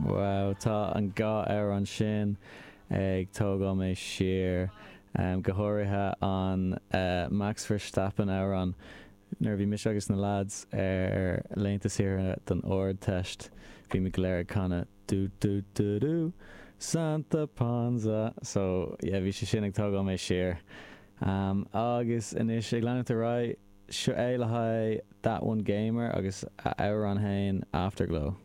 Wow, tá an dá amhrán sin ag tógáil mé siar, go háirithe an Max Verstappen amhrán. Nuair a bhí mise agus na lads ar laethanta saoire don Ardteist, bhí muid go léir ag canadh dú dú dú dú Santa Ponsa. So yeah, bhí sé sin ag tógáil mé siar. Agus anois ag leanúint ar aghaidh, seo é le haghaidh That One Gamer agus a amhrán féin Afterglow.